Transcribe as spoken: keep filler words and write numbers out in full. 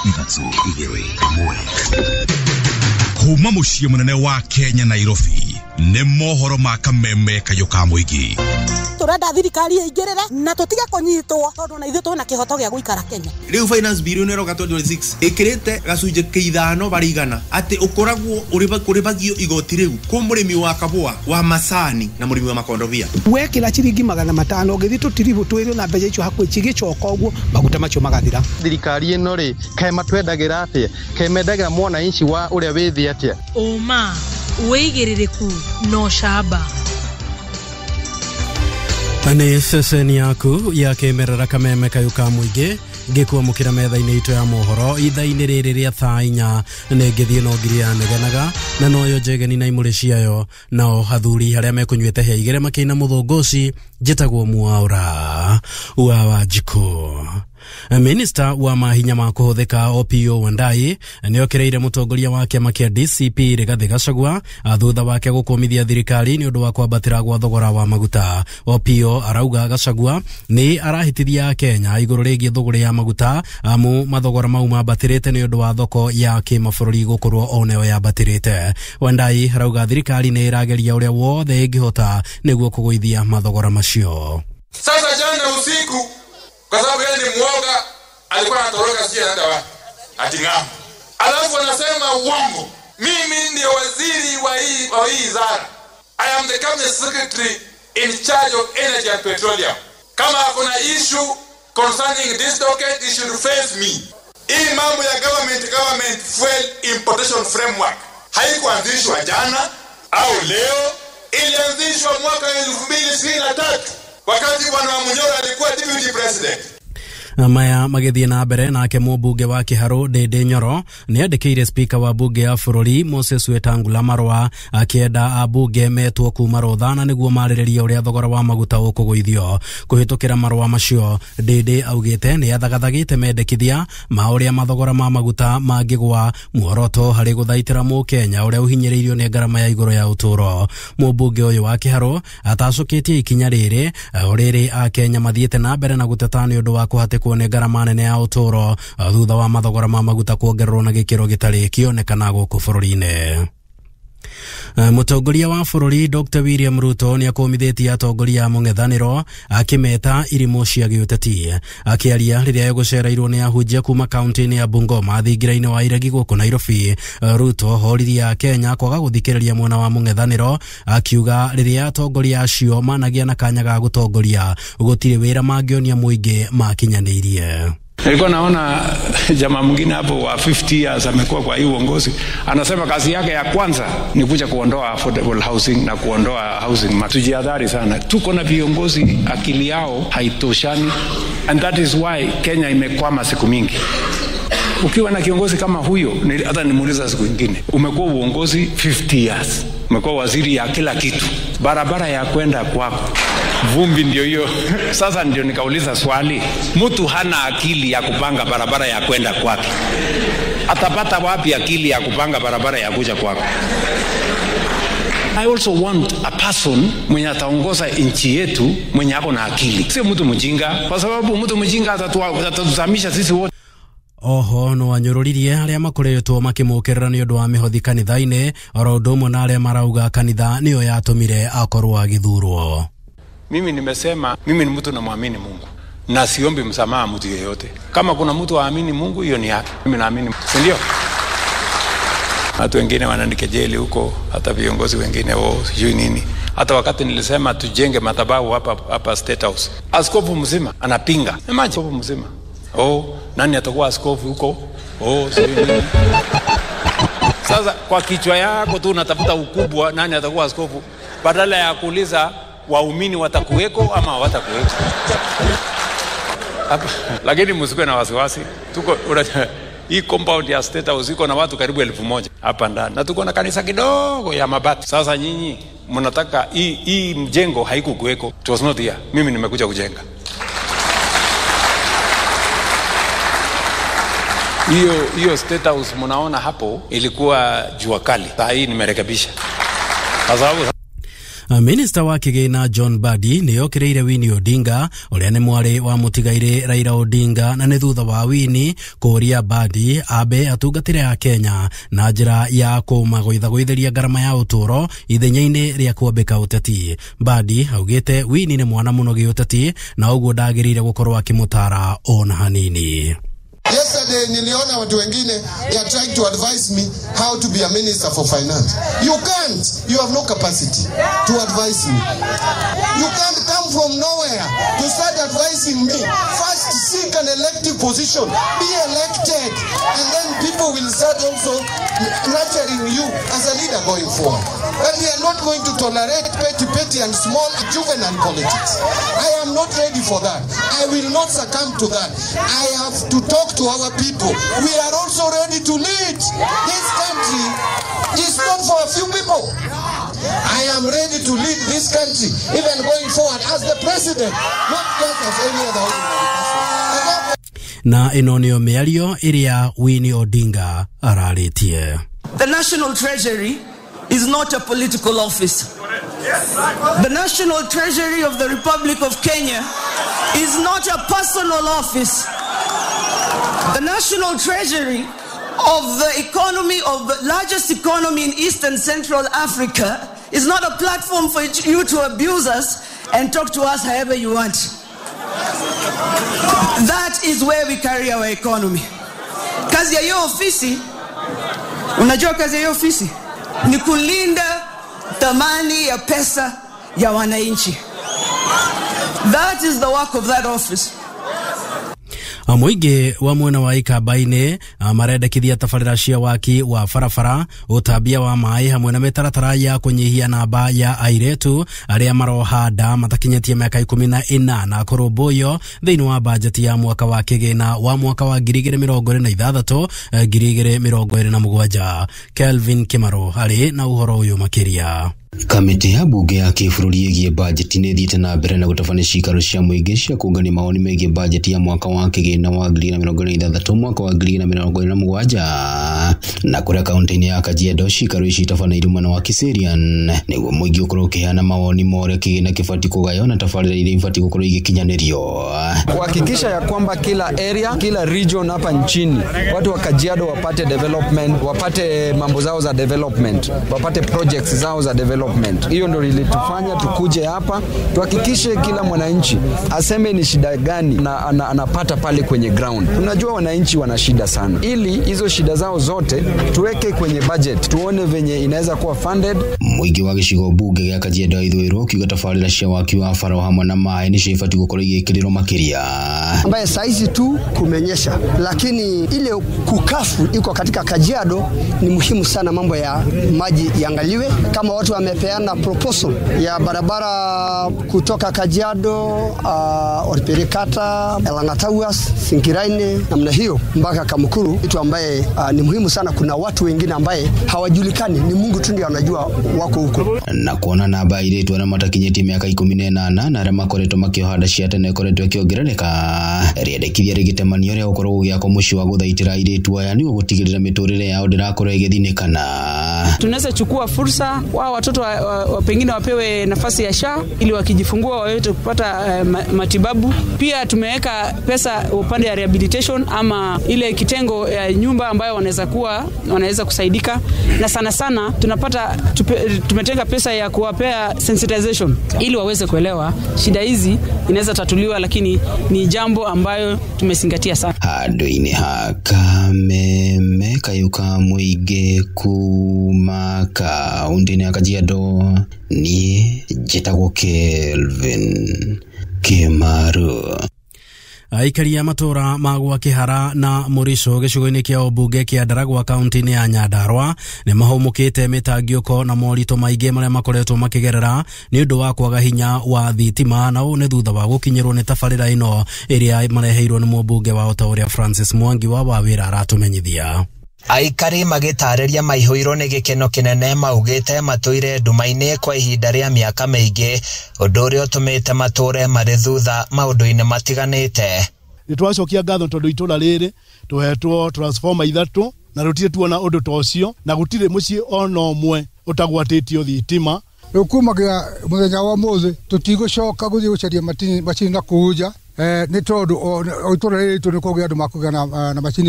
Ithatũ, igĩrĩ, ĩmwe. Kuma mũciĩ mũnene wa Kenya Nairobi nĩ mohoro ma kameme kayũ ka mũingĩ. Turenda thirikari ĩingĩrĩre na tũtige kũnyitwo tondũ na ithuĩ twĩna kĩhoto gĩa gũikara Kenya. Rĩu finance bill ĩno ĩroka twenty twenty-six ĩkĩrĩte gacunjĩ ka ithano barĩ igana atĩ ũkoragwo ũrĩbagio igoti rĩu kũ mũrĩmi wa kabũa wa macani na mũrĩmi wa makondobia. Wekĩra ciringi magana matano ũgĩthiĩ tũtiribũ twĩrĩ na mbeca icio hakuhĩ cigĩcoka ũguo maguta macio magathira. Thirikari ĩno rĩ kaĩ matwendagĩra atĩa, kaĩ mendagĩra mwananchi wa ũrĩa wĩ thĩ atĩa? Ũma, wĩigĩrĩrĩku na ũcamba. Nĩ ceceni yaku ya kĩmerera kameme kayũ ka mũingĩ ngĩkwamũkĩra metha-inĩ itũ ya mohoro ithaa-inĩ rĩrĩ rĩa thaa inya nĩ ngĩthiĩ no ngiri ya negenaga na noyo njegeni na imũrĩ ciayo nao athuri arĩa mekũnyuĩte hĩa igĩrĩ makĩina mũthũngũci njĩtagwo Mwaura wa Wanjikũ. Minista wa mahinya ma kũhũthĩka Opiyo Wandayi nĩokereire mũtongoria wa kĩama kĩa D C P Rigathi Gachagua thutha wake gũkũmithia thirikari nĩ ũndũ wa kwambatĩra gwa thogora wa maguta. Opiyo arauga Gachagua nĩ arahĩtithia Kenya igũrũ rĩgiĩ thũgũrĩ ya maguta amu mathogora mau mambatĩrĩte nĩ ũndũ wa thoko ya kĩmabũrũri gũkorwo onayo yambatĩrĩte. Wandayi arauga thirikari nĩ ĩrageria ũrĩa wothe ĩngĩhota nĩguo kũgũithia mathogora macio. Sasa jana usiku kwa sababu yeye ni muoga alikuwa anatoroka sio anaenda wapi ati ng'ambo, alafu anasema uongo. Mimi ndio waziri wa hii wa hii wizara. I am the cabinet secretary in charge of energy and petroleum. Kama kuna issue concerning this docket, you should face me. Hii mambo ya government government fuel importation framework haikuanzishwa jana au leo, ilianzishwa mwaka elfu mbili ishirini na tatu wakati Bwana Munyoro alikuwa deputy president. Maya magĩthiĩ na mbere nake mũmbunge wa Kĩharũ Ndĩndĩ Nyoro nĩandĩkĩire speaker wa bunge ya bũrũri Moses Wetangula marũa akĩenda ambunge metwo kuma rũthana nĩguo marĩrĩrie ũrĩa thogora wa maguta ũkũgũithio. Kũhĩtũkĩra marũa macio Ndĩndĩ augĩte nĩ athagathagĩte mendekithia ma ũrĩa mathogora ma maguta mangĩgwa muoroto harĩ gũthaitĩra mũkenya ũrĩa ũhinyĩrĩirio nĩ ngarama ya igũrũ ya ũtũũro. Mũmbunge ũyũ wa Kĩharũ atacũkĩtie ikinya rĩrĩ o rĩrĩ akenya mathiĩte na mbere na gũteta nĩ ũndũ wa kũhatĩkwo nĩ ngarama nene ya ũtũũro thutha wa mathogora ma maguta kuongererwo na gĩkĩro gĩtarĩ kĩonekana gũkũ bũrũri-inĩ. Mũtongoria wa bũrũri Doctor William Ruto nĩakũmithĩtie atongoria a mũng'ethanĩro akĩmeta irimũ cia gĩũteti. Akĩaria rĩrĩa egũcereirwo nĩ ahunjia kuma kaunti-inĩ ya Bungoma thingira-inĩ wa Iregi gũkũ Nairobi, Ruto horirie Akenya kwaga gũthikĩrĩria mwena wa mũng'ethanĩro akiuga rĩrĩa atongoria acio managĩa na kanya ga gũtongoria gũtirĩ wĩra mangĩonia mũingĩ makinyanĩirie. Nilikuwa naona jamaa mwingine hapo wa fifty years amekuwa kwa hii uongozi, anasema kazi yake ya kwanza ni kuja kuondoa affordable housing na kuondoa housing. Tujihadhari sana. Tuko na viongozi akili yao haitoshani, and that is why Kenya imekwama siku mingi. Ukiwa na kiongozi kama huyo, hata nimuuliza siku nyingine, umekuwa uongozi fifty years, umekuwa waziri ya kila kitu, barabara ya kwenda kwako vumbi ndio hiyo. Sasa ndio nikauliza swali, mtu hana akili ya kupanga barabara ya kwenda kwake, atapata wapi akili ya kupanga barabara ya kuja kwako? I also want a person mwenye ataongoza nchi yetu mwenye ako na akili, sio mtu mjinga, kwa sababu mtu mjinga atatuzamisha sisi wote. Oho no anyũrũririe arĩa makoretwo makĩmũkĩrĩra nĩ ũndũ wa mĩhothi kanitha-inĩ oro ũndũ ũmwe na arĩa marauga kanitha nĩyo yatũmire akorwo agĩthurwo. Mimi nimesema mimi ni mtu namwamini Mungu na siombi msamaha mtu yeyote. Kama kuna mtu aamini Mungu, hiyo ni yake. Mimi naamini, si ndio? Watu wengine wananikejeli huko, hata viongozi wengine wao sijui nini. Hata wakati nilisema tujenge madhabahu hapa hapa State House, askofu mzima anapinga. Imagine askofu mzima. Oh, nani atakuwa askofu huko? Oh, sijui nini. Sasa kwa kichwa yako tu unatafuta ukubwa, nani atakuwa askofu, badala ya kuuliza waumini watakuweko ama hawatakuweko. Lakini msikuwe na wasiwasi. Tuko hii compound ya State House iko na watu karibu elfu moja hapa ndani, na tuko na kanisa kidogo ya mabati. Sasa nyinyi mnataka hii hii mjengo haikukuweko. It was not here. Mimi nimekuja kujenga. Hiyo hiyo State House mnaona hapo ilikuwa jua kali. Sasa hii nimerekebisha. Kwa sababu Minista wa kĩgĩna John Mbadi nĩ okĩrĩire Winnie Odinga ũrĩa nĩ mwarĩ wa mũtigairĩ Raila Odinga, na nĩ thutha wa Winnie kũũria Mbadi ambe atungatĩre a Kenya na njĩra ya kũmagũithagũithĩria ngarama ya ũtũũro ithenya-inĩ rĩa kwambĩka ũteti. Mbadi augĩte Winnie nĩ mwana mũno gĩũteti na ũguo ndagĩrĩire gũkorwo akĩmũtara ona hanini. Yesterday niliona watu wengine, they are trying to advise me how to be a minister for finance. You can't. You have no capacity to advise me. You can't come from nowhere to start advising me. First seek an elective position. Be elected. And then people will start also nurturing you as a leader going forward. But we are not going to tolerate petty, petty and small juvenile politics. I am not ready for that. I will not succumb to that. I have to talk to our people. We are also ready to lead. This country is not for a few people. I am ready to lead this country, even going forward as the president, not just as any other ordinary person. Na ĩno nĩyo mĩario ĩrĩa Winnie Odinga ararĩtie. The National Treasury is not a political office. The National Treasury of the Republic of Kenya is not a personal office. The National Treasury of the economy, of the largest economy in East and Central Africa, is not a platform for you to abuse us and talk to us however you want. That is where we carry our economy. Kazi ya hiyo ofisi, unajua kazi ya hiyo ofisi ni kulinda thamani ya pesa ya wananchi. That is the work of that office. Mũingĩ wa mwena wa Ikamba-inĩ marendekithia tabarĩra cia waki wa barabara, ũtambia wa maĩ hamwe na mĩtaratara ya kũnyihia namba ya airĩtu arĩa maroha nda matakinyĩtie mĩaka ikũmi na ĩnana kũrũmbũiyo thĩinĩ wa bajeti ya mwaka wa kĩgĩna wa mwaka wa ngiri igĩrĩ mĩrongo ĩrĩ na ithathatũ ngiri igĩrĩ mĩrongo ĩrĩ na mũgwanja. Kelvin Kimaro arĩ na ũhoro ũyũ makĩria. Kamĩtĩ ya bunge ya kĩbũrũri ĩgiĩ bajeti nĩ ĩthiĩte na mbere na gũtabania ciikaro cia mũingĩ cia kũngania mawoni megiĩ bajeti ya mwaka wa kĩgĩna wa ngiri na mĩrongo ĩrĩ na ithathatũ mwaka wa ngiri na mĩrongo ĩrĩ na mũgwanja, na kũrĩa kaunti-inĩ ya Kajiado ciikaro ici itabanĩirio mwena wa Kiserian nĩguo mũingĩ ũkorwo ũkĩheana mawoni ma ũrĩa kĩgĩna kĩbatiĩ kũgaywo na tabarĩra iria ibatiĩ gũkorwo igĩkinyanĩrio, kuhakikisha ya kwamba kila area, kila region hapa nchini watu wa Kajiado wapate development, wapate mambo zao za development, wapate projects zao za development. Hiyo ndio ilitufanya tukuje hapa tuhakikishe kila mwananchi aseme ni shida gani na anapata pale kwenye ground. Tunajua wananchi wana shida sana, ili hizo shida zao zote tuweke kwenye budget, tuone venye inaweza kuwa funded. Mũingĩ wa gĩcigo bunge gĩa Kajiado ya Ithũĩro ũkiuga tabarĩra cia waki wa bara hamwe na maĩ nĩcio ibatiĩ gũkorwo igĩkĩrĩrwo makĩria, ambaye saizi tu kumenyesha, lakini ile kukafu iko katika Kajiado ni muhimu sana. Mambo ya maji iangaliwe, kama watu wamepeana proposal ya barabara kutoka Kajiado, uh, Orperikata, Elangatawas, Sinkiraine namna hiyo mpaka Kamukuru, kitu ambaye uh, ni muhimu sana. Kuna watu wengine ambaye hawajulikani, ni Mungu tu ndiye anajua wako huko. Na kuona namba airĩtu arĩa matakinyĩtie mĩaka ikũmi na ĩnana na arĩa makoretwo makĩoha nda cia tene ĩkoretwo ĩkĩongerereka, rĩendekithia rĩgĩtemanio rĩa gũkorwo gũgĩakwo mũciĩ wa gũthaitĩra airĩtu aya nĩguo gũtigĩrĩra mĩtũrĩre yao ndĩrakorwo ĩgĩthinĩkana. Tunaweza chukua fursa wao watoto wa, wa, wa pengine wapewe nafasi ya S H A ili wakijifungua waweze kupata uh, matibabu. Pia tumeweka pesa upande ya rehabilitation ama ile kitengo ya nyumba ambayo wanaweza kuwa wanaweza kusaidika, na sana sana tunapata tupe, tumetenga pesa ya kuwapea sensitization ili waweze kuelewa shida hizi inaweza tatuliwa, lakini ni jambo ambayo tumezingatia sana. Handũ-inĩ ha Kameme kayũ ka mũingĩ kuma kaunti-inĩ ya Kajiado, niĩ njĩtagwo Kelvin Kimaru. Aikari a matũra ma gwa Kĩhara na Mũricũ gĩcigo-inĩ kĩa ũmbunge kĩa Ndaragwa kaunti-inĩ ya Nyandarua nĩ mahũmũkĩte mĩtangiũko na moritũ maingĩ marĩa makoretwo makĩgerera nĩ ũndũ wa kwaga hinya wa thitima, na ũũ nĩ thutha wa gũkinyĩrwo nĩ tabarĩra ĩno ĩrĩa mareheirwo nĩ mũmbunge wao ta ũrĩa Francis Mwangi wa Wawĩra aratũmenyithia. Aikari magĩtarĩria maihũirwo nĩ gĩkeno kĩnene maugĩte matũire nduma-inĩ kwa ihinda rĩa mĩaka mĩingĩ, ũndũ ũrĩa ũtũmĩte matũre marĩ thutha maũndũ-inĩ matiganĩte. Nĩ twacokia ngatho tondũ itũra rĩrĩ tũhetwo transformer ithatũ na rũtirĩ tuona ũndũ ta ũcio, na gũtirĩ mũciĩ ona ũmwe ũtagwatĩtio thitima. Rĩu kumagia mũthenya wa ũmũthĩ tũtigũcoka gũthiĩ gũcaria macini na kũu nja, nĩ tondũ o itũra rĩrĩ ritũ nĩ kũgĩa andũ makũgĩa na macini.